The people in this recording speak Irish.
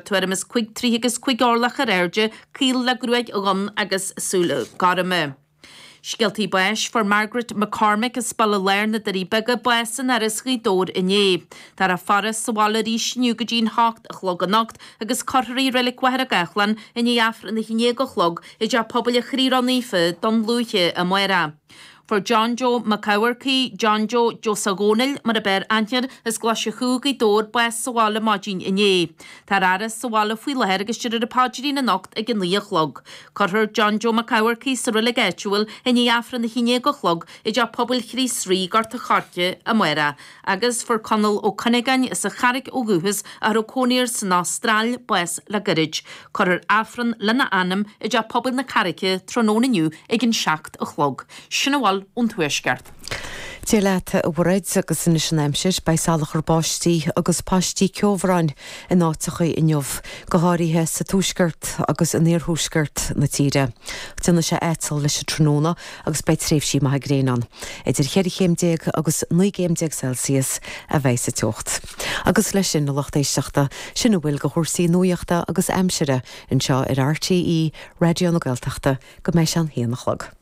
Tuairim is 5 troithe agus 5 orlach ar airde, caol le gruaig dhonn agus súile gorma. Scéaltaí báis, Fuair Margaret McCormick as Baile Láir na Doirí Beaga bás in Áras Ghaoth Dobhair inné. Táthar á faire sa bhaile arís inniu go dtí an hocht a chlog anocht agus cuirfear í i Reilig Mhachaire Gathlán i ndiaidh Aifreann a haon déag a chlog i dTeach Pobail an Chroí Ró-Naofa, Dún Lúiche, amárach. Fuair John Joe Mac Eamharcaigh, John Joe Joe Dhónaill mar ab fhearr aithne air, as Glaise Chú, Gaoth Dobhair, bás sa bhaile maidin inné. Táthar á fhaire sa bhaile faoi láthair agus déarfar an paidrín anocht ag a 9 a chlog. Cuirfear John Joe Mac Eamharcaigh sa reilig áitiúil i ndiaidh Aifreann a 11 a chlog i dTeach Pobail Chríost Rí, Gort a' Choirce, amárach. Agus fuair Conall Ó Cuinneagáin, as an Charraic ó dhúchas, a raibh cónaí air san Astráil, bás le gairid. Cuirfear Aifreann lena anam i dTeach Pobail na Carraice tráthnóna inniu ag an 7 a chlog. Sin a bhfuil ón Tuaisceart. Dia leat, a Mhairéad, agus anois an aimsir. Beidh salachar báistí agus paistí ceobhráin in áiteacha inniu, go háirithe sa tuaisceart agus in iarthuaisceart na tíre. Déanfaidh sé aiteal leis an tráthnóna agus beidh tréimhsí maithe gréine ann. Idir cheithre chéim déag agus 19 gcéim Celsius a bheidh sa teocht. Agus leis sin, a lucht éisteachta, sin a bhfuil de chúrsaí nuachta agus aimsire anseo ar RTÉ Raidió na Gaeltachta go mbeidh sé an haon a chlog.